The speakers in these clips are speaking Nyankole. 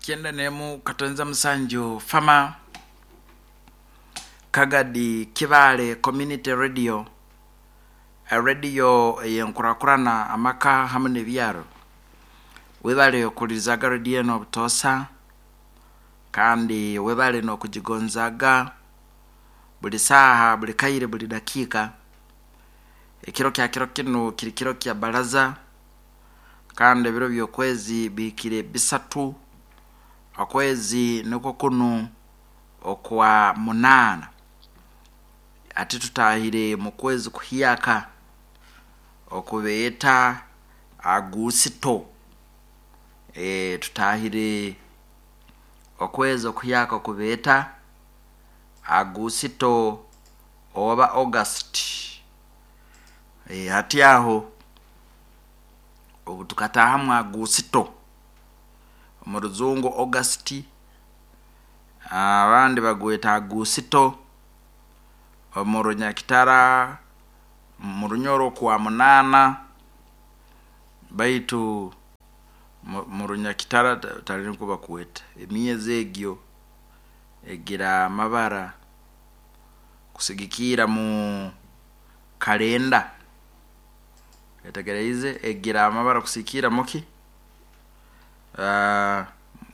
Kyenda n'emu katonza musanju Fama Kagadi Kibaale Community Radio, Radio ey'enkurakurana amaka hamu n'ebyaro. Webale okuhulirizaga radio enu obutoosa kandi webale n'okugigonzaaga buli saaha, buli kaire, buli dakiika. Ekiro kya kiro kinu kiri kiro kya baraza kandi ebiro by'okwezi bihikire bisatu, okwezi nikwo kunu okwa munaana. Hati tutahire mu kwezi kuhyaka oku beeta Agusito. Tutahire okwezi okuhyaka oku beeta Agusito oba August. Hati aho obu tukataahamu Agusito, omu rujungu August, abandi bagweta Agusito, omu Runyakitara, omu Runyoro kwa munaana, baitu omu Runyakitara tari nikwo bakweta. Emyezi egyo egira amabara kusigikirra mu kalenda. Oyetegyereize? Egira amabara kusigikirra mu ki?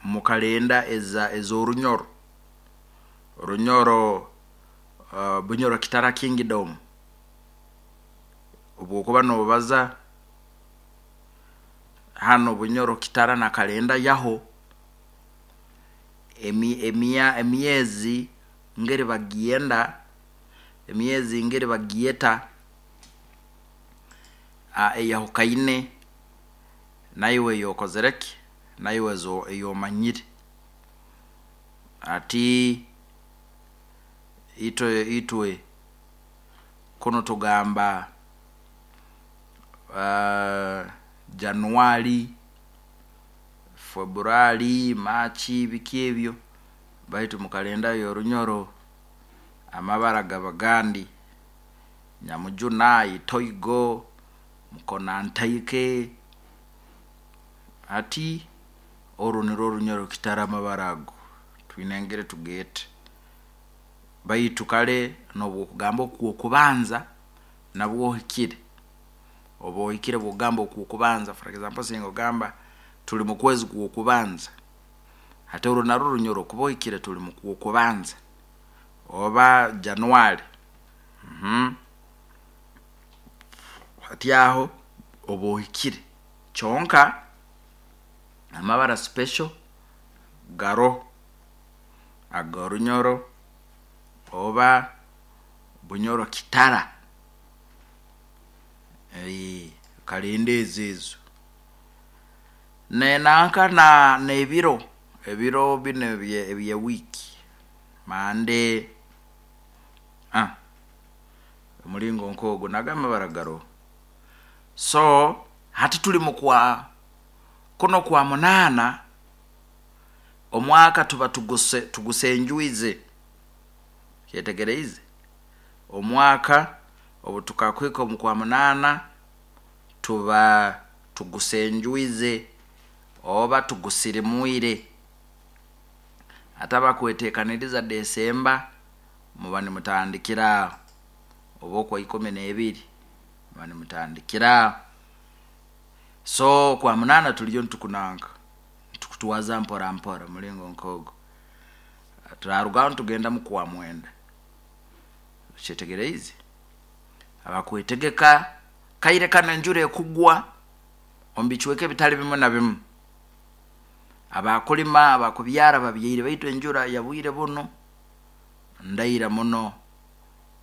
Mu kalenda ez'Orunyoro. Orunyoro, Bunyoro Kitara Kingdom. Obu okuba nobaza hanu Bunyoro Kitara na kalenda yaho, emyezi ngeri bagyenda, emyezi ngeri bagyeta eyahukaine naiwe ei okozire ki, naiwe ei omanyire. Hati itwe itwe kunu tugamba January, February, March biki ebyo baitu mu kalenda y'Orunyoro amabara gaba gandi, Nyamujuna, Itoigo, Mukonantaike. Hati oru nirwo Orunyoro kitari amabara ago, twine engeri tugeeta. Baitu kare n'obu okugamba okw'okubanza nabwo ohikire. Oba ohikire obu okugamba okw'okubanza for example singa ogamba turi mu kwezi kw'okubanza, hati oru narwo Orunyoro kuba ohikire turi mu kw'okubanza oba January. Hati aho oba ohikire. Kyonka amabara special garoho ag'Orunyoro oba Bunyoro Kitara. Kalenda ezo ezo. Nanka n'ebiro, ebiro binu ebye wiiki, Monday, omuringo nk'ogwo nago amabara garoho. So hati turi mu kwa kunu okwa munaana, omwaka tuba tuguse tugusenjwize. Okyetegereize? Omwaka obu tukakuhika omu kwa munaana, tuba tugusenjwize oba tugusirimwire. Hati abakweteekaniriza Desemba, muba nimutandikira aho, oba okwa ikumi n'ebiri muba nimutandikira aho. So okwa munaana turiyo nitukunanka, nitukutwaza mpora mpora omuringo nk'ogwo. Turarugaho nitugenda mu kwa mwenda. Okyetegereize? Abakwetegeka kaire kanu enjura ekugwa omu bicweka ebitari bimwe na bimwe. Abakulima, abakubyara babyaire baitu enjura ya bwire bunu ndaira muno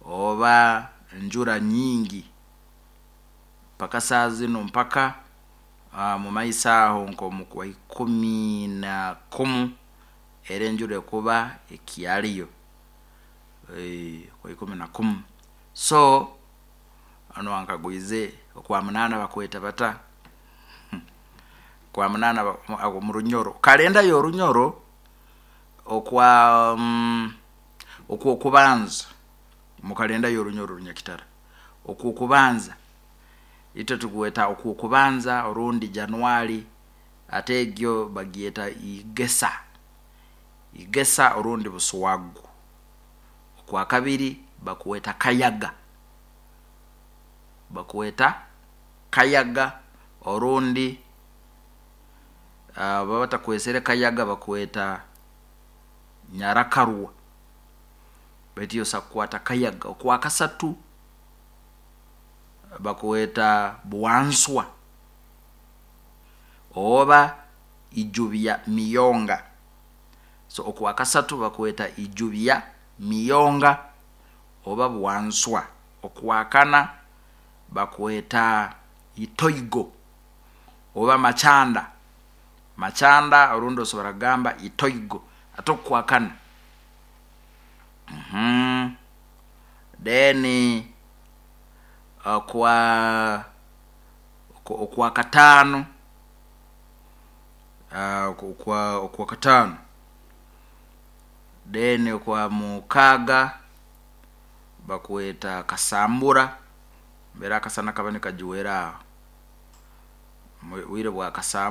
oba enjura nyingi mpaka saaha zinu mpaka omu maiso aho nk'omu kwa ikumi na kumu era enjura ekuba ekyariyo kwa ikumi na kumu. So onu ankagwize okwa munaana bakweta bata? Okwa munaana omu Runyoro, kalenda y'Orunyoro okwa okw'okubanza omu kalenda y'Orunyoro Orunyakitara, okw'okubanza itwe tugweta okw'okubanza orundi January. Ate egyo bagyeta igesa, igesa orundi buswagu. Okwakabiri bakweta kayaga, bakweta kayaga orundi baba batakwesere kayaga bakweta nyarakarwa, baitu iwe osobola kukwata kayaga. Okwakasatu bakweta bwanswa oba ijubya miyonga, so okwakasatu bakweta ijubya miyonga oba bwanswa. Okwakana bakweta itoigo oba makyanda, makyanda orundi osobola kugamba itoigo ate okwakana. Then okwa okwakataano okwakataano then okwamukaaga bakweta kasambura mbere akasana kaba nikajwera aho, obwire bwa kasambura.